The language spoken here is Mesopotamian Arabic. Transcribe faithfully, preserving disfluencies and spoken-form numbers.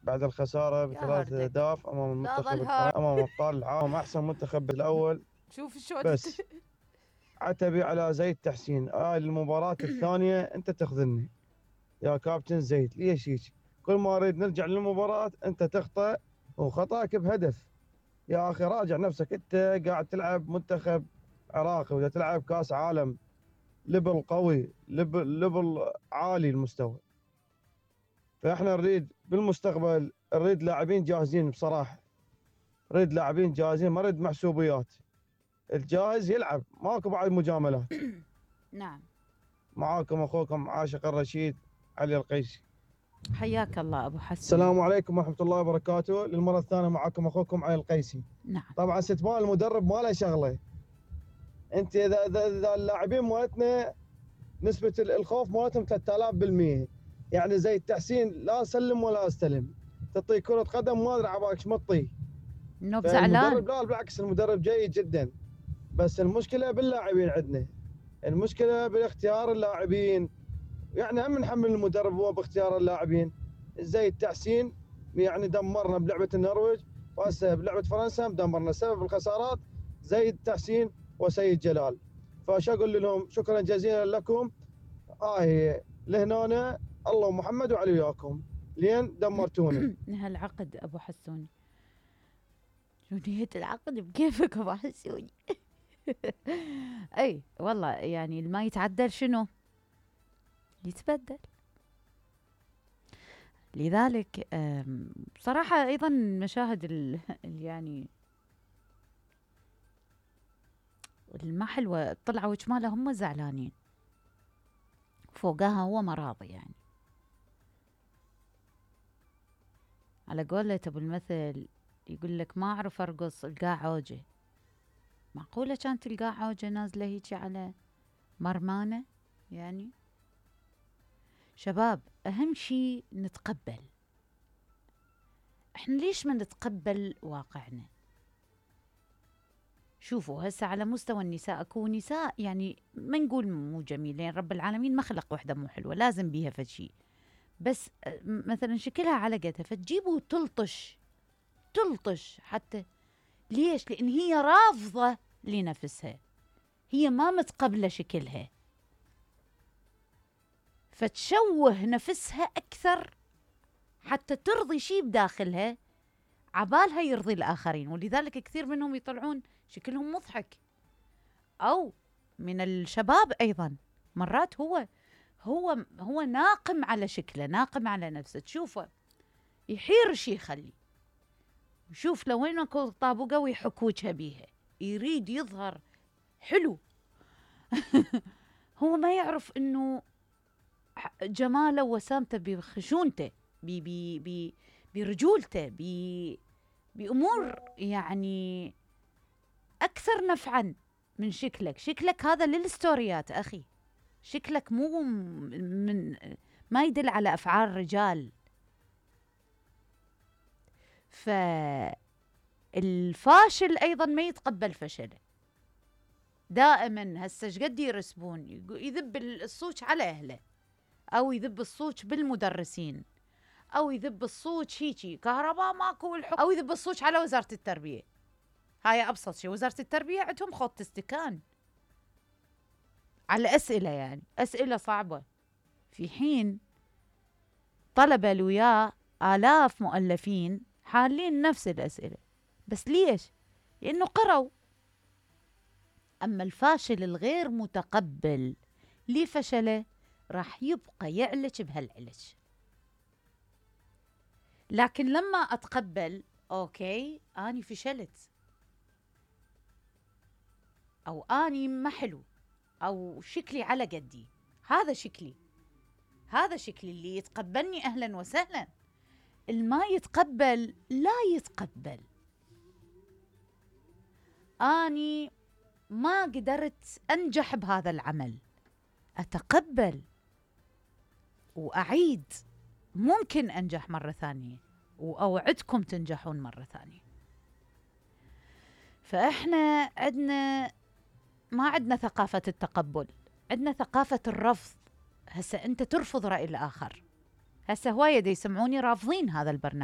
بعد الخسارة بثلاث أهداف أمام المنتخب الفرنسي أمام أبطال العالم أحسن منتخب الأول. شوف شو بس عتبي على زيد تحسين. هاي آه المباراة الثانية أنت تخذلني يا كابتن زيد. ليش هيك؟ كل ما أريد نرجع للمباراة أنت تخطأ، وخطأك بهدف. يا أخي راجع نفسك، أنت قاعد تلعب منتخب عراقي وإذا تلعب كاس عالم ليفل قوي، ليفل ليفل عالي المستوى. فاحنا نريد بالمستقبل نريد لاعبين جاهزين بصراحه، نريد لاعبين جاهزين، ما نريد محسوبيات. الجاهز يلعب، ماكو بعد مجاملات. نعم. معاكم اخوكم عاشق الرشيد علي القيسي. حياك الله ابو حسن. السلام عليكم ورحمه الله وبركاته. للمره الثانيه معاكم اخوكم علي القيسي. نعم. طبعا استثمار المدرب ما له شغله. انت اذا اذا اللاعبين مالتنا نسبه الخوف مالتهم ثلاثة آلاف بالمئة، يعني زي التحسين لا سلم ولا استلم، تعطيه كره قدم ما ادري عبالك ايش مطيه. انه بزعلان. المدرب لا بالعكس، المدرب جيد جدا، بس المشكله باللاعبين عندنا، المشكله باختيار اللاعبين. يعني هم نحمل المدرب هو باختيار اللاعبين. زي التحسين يعني دمرنا بلعبه النرويج، وهسه بلعبه فرنسا دمرنا. سبب الخسارات زي التحسين وسيد جلال. فاش اقول لهم شكرا جزيلا لكم. اه هي لهنا الله ومحمد وعلي وياكم لين دمرتونا. هالعقد ابو حسوني، شو نية العقد بكيفك ابو حسوني. اي والله يعني الما يتعدل شنو يتبدل. لذلك بصراحة ايضا مشاهد ال يعني الما حلوة طلعوا وجماله هم زعلانين، فوقاها هو مراضي. يعني على قولة ابو المثل يقول لك ما اعرف ارقص القاع عوجه. معقولة كانت القاع عوجه نازلة هيجي على مرمانة؟ يعني شباب اهم شي نتقبل. احنا ليش ما نتقبل واقعنا؟ شوفوا هسه على مستوى النساء اكو نساء يعني ما نقول مو جميلين، رب العالمين ما خلق وحده مو حلوه، لازم بيها فد شي، بس مثلا شكلها على قدها فتجيبه وتلطش تلطش حتى. ليش؟ لان هي رافضه لنفسها، هي ما متقبله شكلها، فتشوه نفسها اكثر حتى ترضي شي بداخلها عبالها يرضي الآخرين. ولذلك كثير منهم يطلعون شكلهم مضحك. أو من الشباب أيضا مرات هو هو هو ناقم على شكله، ناقم على نفسه، تشوفه يحير شي يخلي، يشوف لو وين اكو طابوقه ويحك وجهه بيها، يريد يظهر حلو. هو ما يعرف انه جماله وسامته بخشونته، بي بي بي برجولته، بي بأمور يعني أكثر نفعاً من شكلك. شكلك هذا للستوريات أخي، شكلك مو من ما يدل على أفعال رجال. فالفاشل أيضاً ما يتقبل فشله دائماً. هسه شقد يرسبون يذب الصوت على أهله، أو يذب الصوت بالمدرسين، أو يذب الصوت هيجي كهرباء ماكو الحكم، أو يذب الصوت على وزارة التربية. هاي أبسط شيء، وزارة التربية عندهم خط استكان على أسئلة، يعني أسئلة صعبة، في حين طلبة لوياه آلاف مؤلفين حالين نفس الأسئلة. بس ليش؟ لأنه قروا. أما الفاشل الغير متقبل لفشله راح يبقى يعلج بهالعلج. لكن لما أتقبل أوكي أني فشلت، أو أني ما حلو، أو شكلي على قدي، هذا شكلي، هذا شكلي، اللي يتقبلني أهلا وسهلا، الما يتقبل لا يتقبل. أني ما قدرت أنجح بهذا العمل، أتقبل وأعيد، ممكن أنجح مرة ثانية، وأوعدكم تنجحون مرة ثانية. فإحنا عندنا ما عندنا ثقافة التقبل، عندنا ثقافة الرفض. هسه أنت ترفض رأي الآخر. هسه هواية دي يسمعوني رافضين هذا البرنامج.